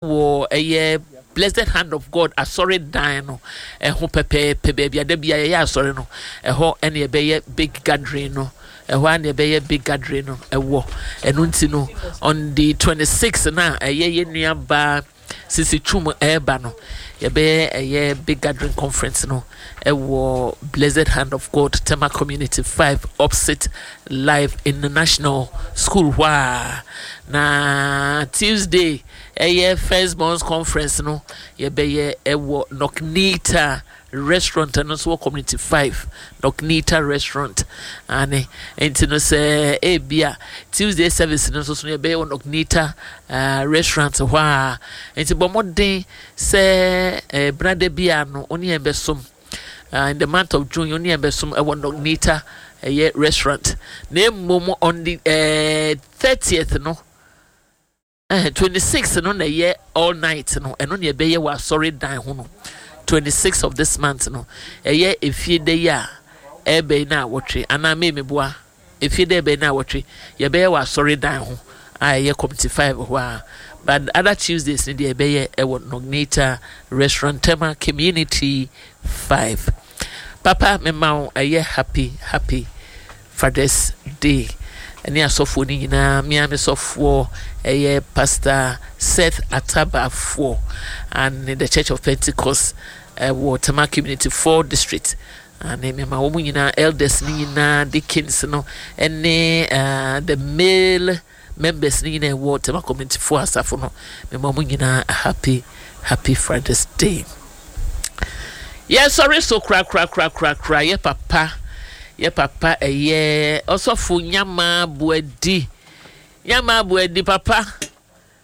Wɔ ɛyɛ Blessed Hand of God asɔredan no ɛho pɛpɛɛpɛ, baabi a da bi a yɛyɛ asɔre no, ɛhɔ ɛna ɛbɛyɛ big gathering no. Ɛhɔ a na ɛbɛyɛ big gathering no ɛwɔ. Ɛno nti no, on the 26 na ɛyɛ yɛn nua baa Sisi Twum ɛreba no, yɛbɛyɛ ɛyɛ big gathering conference no ɛwɔ Blessed Hand of God, Tema Community 5, opposite Life International School hɔ a. Na Tuesday ɛyɛ First Borns Conference no, yɛbɛyɛ ɛwɔ Nocnita Restaurant. Ɛno nso wɔ Community 5, Nocnita Restaurant ane. Nti no, sɛ ebia Tuesday service no nso so no, yɛbɛyɛ wɔ Nocnita Restaurant hɔ a. Nti bɔ mmɔden sɛ benada bi a no wo ne yɛn bɛsom in the month of June, wo ne yɛn bɛsom ɛwɔ Nocnita ɛyɛ restaurant. Na mmom on the 30th no, 26 no na ɛyɛ all night no. Ɛno na ɛbɛyɛ wɔ asɔre dan ho no, 26 of this month no. Ɛyɛ efie da yi a ɛbɛn na awɔtwe anaa mmɛmɛboa efie da ɛbɛn na awɔtwe, yɛbɛyɛ wɔ asɔre dan ho a ɛyɛ Community 5 hɔ a. But other Tuesdays no deɛ, ɛbɛyɛ ɛwɔ Nognita Restaurant, Tema Community 5. Papa, mema wo ɛyɛ happy, happy Father's Day ɛne asɔfoɔ no nyinaa. Mmea me sɔfoɔ ɛyɛ Pastor Seth Atabafoɔ and the Church of Pentecost ɛwɔ Tema Community 4 District ane. Mema wɔn nyinaa, elders no nyinaa, deacons no ɛne the male members no nyinaa ɛwɔ Tema Community 4 asafo no, mema wɔn nyinaa happy, happy Father's Day. Yɛsɔre so korakorakorakorakora. Yɛ papa ɛyɛ Ɔsɔfo Nyama Boadi, Nyama Boadi papa,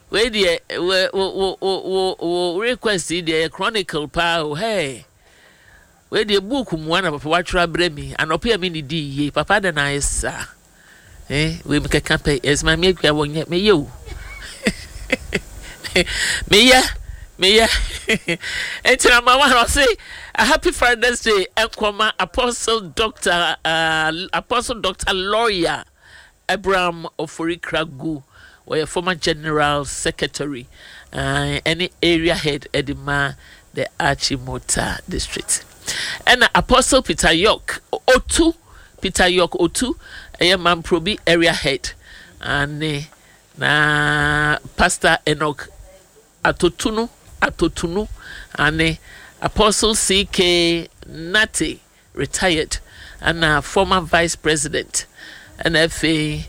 wei deɛ wo wo wo wo wo request yi deɛ yɛ chronicle paa o. Hey, wei deɛ book mua na papa watwerɛ abrɛ mi anɔpɛ a mi ni di yie. Papa de na ayɛ saa wei mi kɛkɛ pɛ ɛsɛ maame Akua wɔ nyɛ meyɛ o, meyɛ meyɛ. Nti number one, ɔse a happy Father's Day ɛnkɔma Apostle Doctor Lawyer Abraham Ofori Kragu, wɔyɛ former general secretary ɛne area head ɛde ma the Achimota District, ɛna Apostle Peter York Otu, Peter York Otu, ɛyɛ Mamprobi area head ane, na Pastor Enoch Atotunu Atotunu ane, Apostle CK Nate, retired, ɛna former vice president, ɛna afei